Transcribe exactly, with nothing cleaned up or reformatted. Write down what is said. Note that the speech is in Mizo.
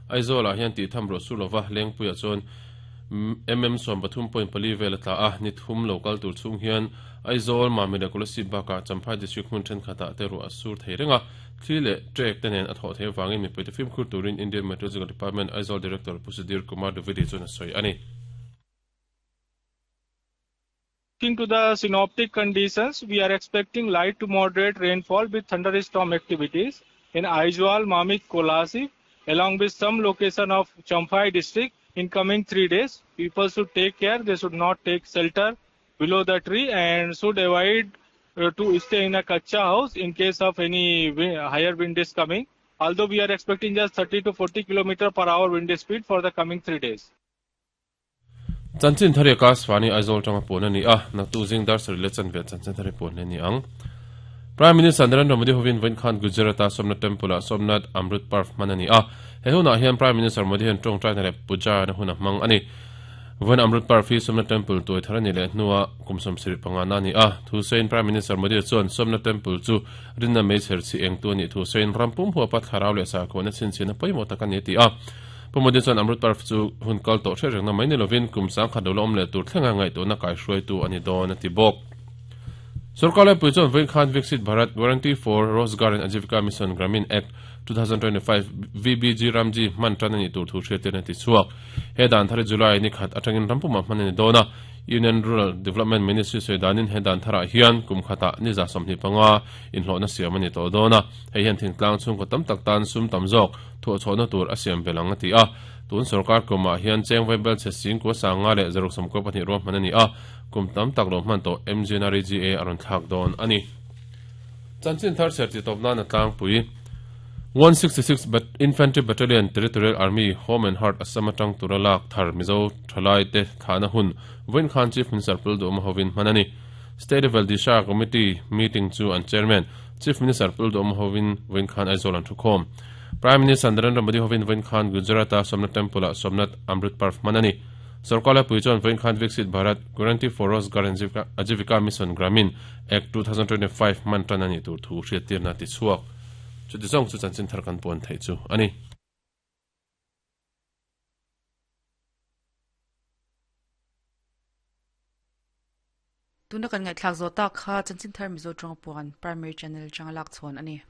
Aizawl ah hian tih tham ro sulova lengpuia chuan mm som pathum point pali vel atla a ni thum local tur chung hian Aizawl Mamit leh Kolasib bakah Champhai district hmun thenkhatah te ru a sur thei renga thli leh trek te nen a thawh thei wangin mipui te fimkhur turin Indian Meteorological Department Aizawl Director Pu Sudhir Kumar Dwivedi chuan a sawi ani. Looking to the synoptic conditions, we are expecting light to moderate rainfall with thunderstorm activities in Aizawl, Mamit, Kolasib, along with some location of Champhai district in coming three days. People should take care. They should not take shelter below the tree and should avoid uh, to stay in a kacha house in case of any higher wind is coming. Although we are expecting just thirty to forty kilometer per hour wind speed for the coming three days. Chanchin thari ka swani Aizawl tanga pon ani a naktu jing dar sari le chanve chanchin thari pon ni ang. Prime Minister Narendra Modi hovin vain khan Gujarata Somnath Temple a Somnath Amrit Parv manani a he huna hian Prime Minister Modi hen tong trai na puja na huna mang ani vain Amrit Parv hi Somnath Temple toi tharani le nuwa kumsom sri panga na ni a thu sein Prime Minister Modi chuan Somnath Temple chu rinna mei cher chi eng tu ni thu sein rampum huwa pat tharaw le sa ko na chin chin poimo takani ti a Pumodi chuan Amrit Parv chu hun kal to hre rengna mai ni lovin kum sang khat lo om le tur thlenga ngai to na kai hruai tu ani don ati bok. Sarkar le pui chuan vain khan Viksit Bharat Guarantee for Rozgar and Ajivika Mission Gramin Act twenty twenty-five V B G Ramji man tan ani tur thu hriat ten ti chuak. He dan thar July ni khat atangin rampuma man ani dona Union Rural Development Ministry soidanin he dan thara hian kum khata ni za somni panga in hlona siam ani to dona hei hian thingtlang chung ko tam tak tan sum tam zawk thu chona tur a siam belang ati a tun sarkar kuma hian cheng vaibel che sing ko sanga le zaruk sam ko pahnih ro man ani a kum tam tak lo man to M G N R E G A aron thak don ani chanchin thar serti topna na tlang pui one sixty-six but Infantry Battalion Territorial Army Home and Heart Assam atang turalak thar Mizo thalai te thana hun Win Khan Chief Minister Puldo Hovin manani State Level Disha Committee meeting chu and Chairman Chief Minister Puldo Hovin Win Khan Aizawl an thukhom Prime Minister Narendra Modi Hovin Win Khan Gujarata Somnath Temple Somnath Amrit Parv manani Sarkar puichon Win Khan Viksit Bharat Guarantee for Rozgar and Ajivika Mission Gramin Act twenty twenty-five man tanani tur thu hriatir na ti chuak chu ti zong chu chanchin thar kan pon thei chu ani. Tuna kan ngai thlak zo ta kha chanchin thar Mizo tawng puan primary channel changalak chhon ani.